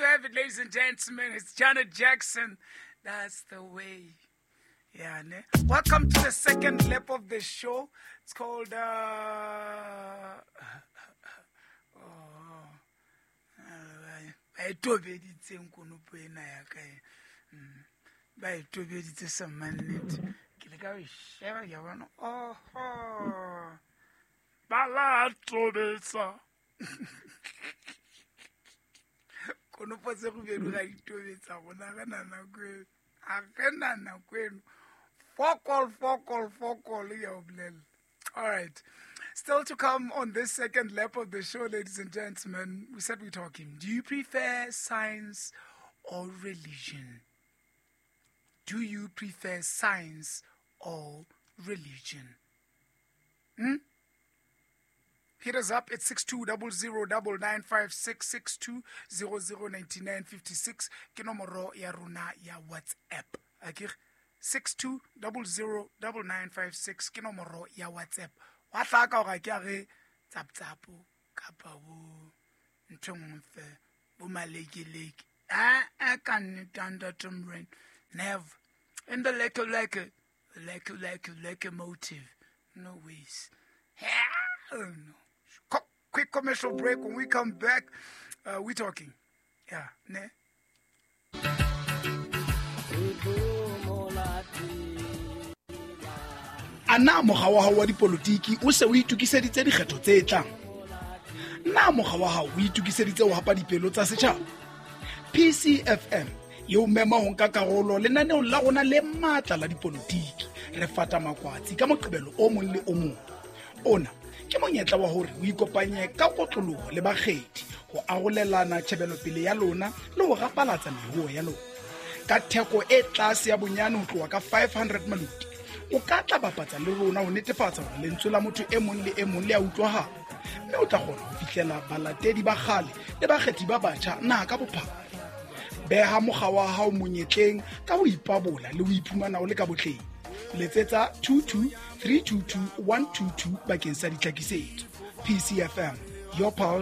you have it, ladies and gentlemen. It's Janet Jackson. That's the way. Yeah, ne? Welcome to the second lap of the show. It's called oh, ba e tobeditseng konopo ena ya ka e. Ba e tobeditse sa mannete. Ke le ka o e sheba ke a bona. Oho. Ba la tobetsa. Konopo tse kgubedu ga di tobetsa gona ge na nako eno. A ge na nako eno. Fokol, fokol, fokol, ya o bolela. All right. Still to come on this second lap of the show, ladies and gentlemen, we said we're talking. Do you prefer science or religion? Do you prefer science or religion? Hmm? Hit us up at 62009956 62009956 ke nomoro ya rona ya WhatsApp. Akere 62009956 ke nomoro ya WhatsApp. Wa hlaka hore ke a re tsaptsapo kapa bo ntho e nngwe fe bo malekeleke. A ka nnete ntate Morena. Never. In the leke leke leke leke leke motive. No ways. Hell no. Quick commercial break. When we come back, we're talking. Yeah, ne? A na mokga wa hao wa dipolotiki o se o itokiseditse dikgetho tse tlang? Na mokga wa hao o itokiseditse ho hapa dipelo tsa setjhaba? PCFM e o mema ho nka karolo lenaneong la rona le matla la dipolotiki. Re fata makwatsi ka Moqebelo o mong le o mong. Ona ke monyetla wa hore o ikopanye ka kotloloho le bakgethi ho arolelana tjhebelopele ya lona le ho rapalatsa meruo ya lona. Ka theko e tlase ya bonyane ho tloha ka 500 maluti, o ka tla bapatsa le rona ho netefatsa hore lentswe la motho e mong le e mong le a utlwahala, mme o tla kgona ho fihlela balatedi ba kgale le bakgethi ba batjha naha ka bophara. Beha mokga wa hao monyetleng ka ho ipabola le ho iphumana o le ka botleng. Letsetsa 22 322 122 bakeng sa ditlhakisetso. PCFM, your pulse.